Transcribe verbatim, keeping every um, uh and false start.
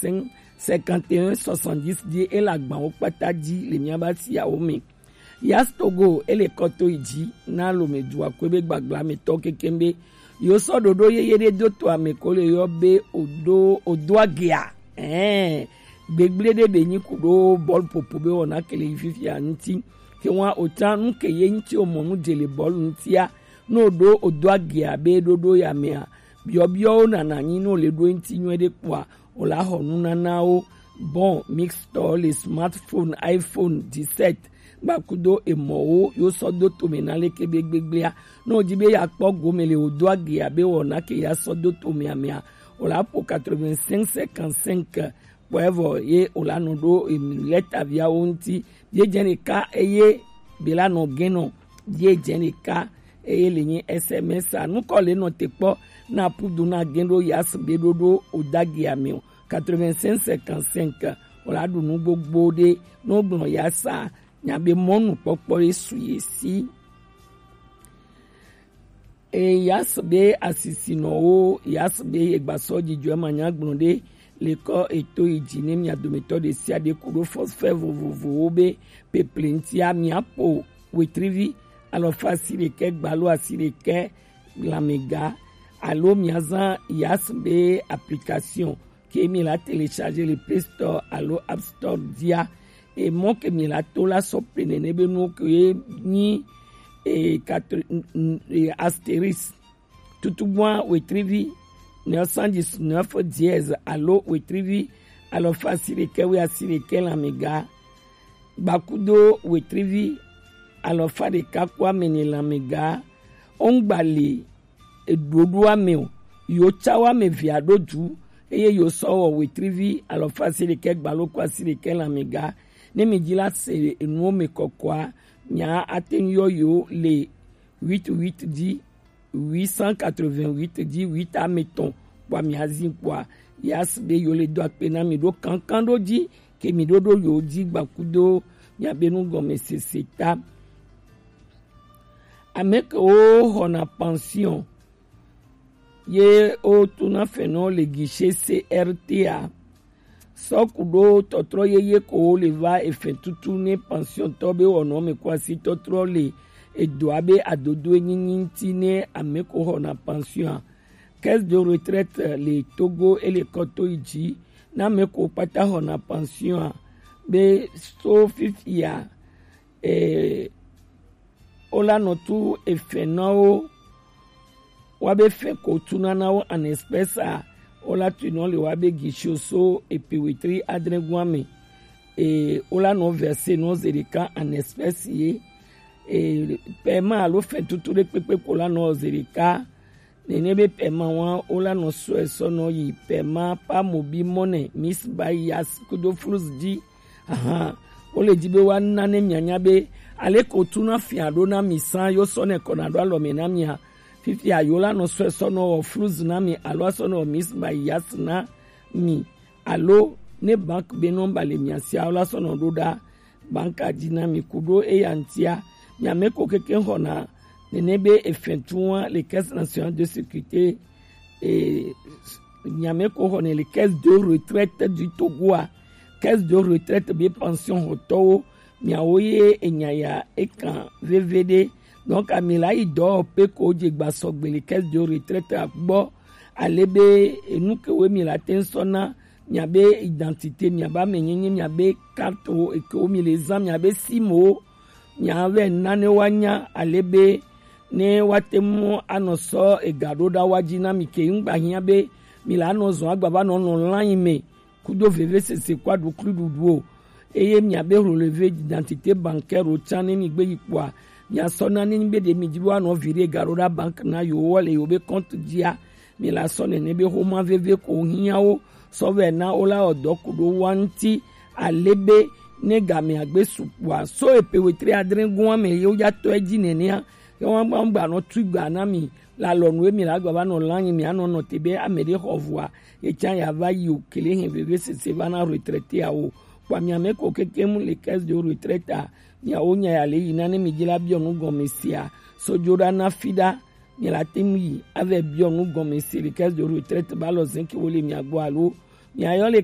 cinq, cinquante et un, soixante-dix ji, e le agbawo kpata ji le miaba siawo me. Yas Togo, e le kɔ to yi ji na Lomé dua kue be gbagba me tɔ kekeŋ be yo sɔ ɖoɖo yeye ɖe do to ame ko le yɔ be odo, odo agea. Ɛɛ, gbegble ɖe be nyi ku ɖo bɔl popo be wɔna ke le yi fifia ŋuti. Ke wa o ta nu ke ye ŋuti o mɔ nu dze le bɔl ŋutia, no ɖo odo agea be ɖoɖo ya mea, biɔbiɔwo nana nyi no le ɖo ŋuti nyuie ɖe kpɔa, o la xɔ nunanawo. Bon, mixtɔ le smartphone, iPhone dix-sept, gbakudo emɔwo yo sɔ do tome na leke be gbegblea. No di be ya kpɔ gome le odo agea be wɔna ke ya sɔ do tome amea, o la po quatre-vingt-cinq cinquante-cinq kpɔɛ vɔ ye o la nɔ ɖo emi lɛtaviawo ŋuti. Ye dze ɖeka eye be la nɔ gɛnɔ ye dze ɖeka eye le nyi S M S a. Nukɔ le nɔ te kpɔ na pudu na gɛn ɖo yas be ɖoɖo o dagi ame o. Quatre-vingt-cinq cinquante-cinq, o la ɖu nu gbogbo ɖe no gblɔ yasa nya be mɔnu kpɔkpɔ ye su ye si. E, yas be asisinɔwo, yas be ye gbasɔ dzidzɔ ma nya gblɔ ɖe le kɔ eto yi dzi ne mia dometɔ ɖe sia ɖe ku ɖo forfait vovovowo be peple ŋutia mia po wetrivi alɔfa asiɖekɛ gbalo asiɖekɛ lamega alo mia zã yas be application ke mi la télécharger le Play Store alo App Store dia. E mɔ ke mi la to la sɔ pe nene be nuwo ke nyi e quatre, n- n- e astérisque, tutugbua wetrivi neuf cent dix-neuf dièse alo wetrivi alɔfa asiɖekɛ wi asiɖekɛ lamega gbakudo wetrivi alɔfa ɖeka ku ame ne lamega. Ongba le eɖoɖoa me o, yo tsawo ame vea ɖo du, eye yo sɔ wɔ wetrivi alɔfa asiɖekɛ gbalo ku asiɖekɛ lamega. Ne mi dzi la se enuwo me kɔkɔa, mia ate ŋu yɔ yo le huit huit dix, huit cent quatre-vingt-huit dix, huit ame tɔn kpɔa mia zi kpɔa, yas be yo le do akpe na mi ɖo kankan ɖo dzi ke mi ɖo ɖo yo dzi gbakudo mia be nu gɔmesese ta. Ame kewo xɔna pension ye wotuna fɛnɔ le guichet C R T a. Sɔ ku ɖo tɔtrɔ yeye ko le va efɛn tutu ne pension tɔ be wɔnɔ me ko asi tɔtrɔ le edoa be adodo nyinyi ŋuti ne ame ko xɔna pension a. Caisse de retraite le Togo e le kɔ to yi dzi na ame ko kpata xɔna pension a be so fifia, e, o la nɔ tu efɛn na wo. Wa be fɛn ko tu na na wo en espèce a, o la tu nɔ le wa be guichet so epe wetri adre gua me. E, o la nɔ verser nɔ ze ɖeka en espèce ye. E, paiement alo fɛn tutu ɖe kpekpe ko la nɔ ze ɖeka. Nene be paiement wa o la nɔ sɔe sɔ nɔ yi paiement par mobile money, Miss Bayas kudo flus dzi. Ahan, o le dzi be wa na ne mianya be ale ko tu na fia ɖo na mi san yo sɔ ne kɔna ɖo alɔ me na mia. Fifia yo la nɔ sɔe sɔ nɔ wɔ flus na mi alo asɔ nɔ wɔ Miss Bayas na mi alo ne bank be nɔmba le mia sia o la sɔ nɔ ɖo ɖa banka dzi na mi ku ɖo eya ŋutia. Mia me ko keke xɔna nene be efɛn tu wa le Caisse Nationale de Sécurité, e, mia me ko xɔne le Caisse de Retraite du Togo a. Caisse de Retraite be pension xɔtɔwo, miawo ye enya ya ekan veve ɖe. Donc ami la yi dɔ pe ko dze gba sɔgbe le Caisse de Retraite a gbɔ. Ale be enu ke wo mi la te ŋu sɔ na miabe identité, miabe amenyenye, miabe carte wo eke wo mi le zã, miabe sim wo, miavɛ na ne woanya ale be ne woate ŋu anɔ sɔ ega ɖo ɖa wa dzi na mi ke ŋgba hiã be mi la nɔ zɔ agba va nɔ nɔ lãnyi me kudo vevesese kua ɖukluiɖuɖu o. Eye miabe relevé d'identité bancaire wo tsã ne mi gbe yi kpɔa, miasɔ na ne nyi be ɖe mi dzi be woanɔ viɖe ega ɖo ɖa bank na yewo le yewo be compte dzia, mi la sɔ nene be xoma veve ko hiã wo sɔ vɛ na wo la wɔ dɔ ku ɖo wa ŋuti ale be ne gamea gbe su kpɔa so epe wetri adre gɔ̃a me ye wo ya tɔ edzi nenea. Ye wa gba gba nɔ tui gba na mi la lɔ nu mi la gba va nɔ la nyi mi anɔ nɔ te be ame ɖe xɔ vua ye tsã ya va yi o kele hɛn veve sese va na retraité awo kpɔ mi ame ko keke mu le caisse de retraite a miawo nya ya le yi na ne mi dzi la biɔ nu gɔme sia sojo ɖa na fi ɖa. Mi la te ŋu yi ave biɔ nu gɔme se le caisse de retraite ba lɔ zɛn ke wo le mia gbɔ alo Miayɔ le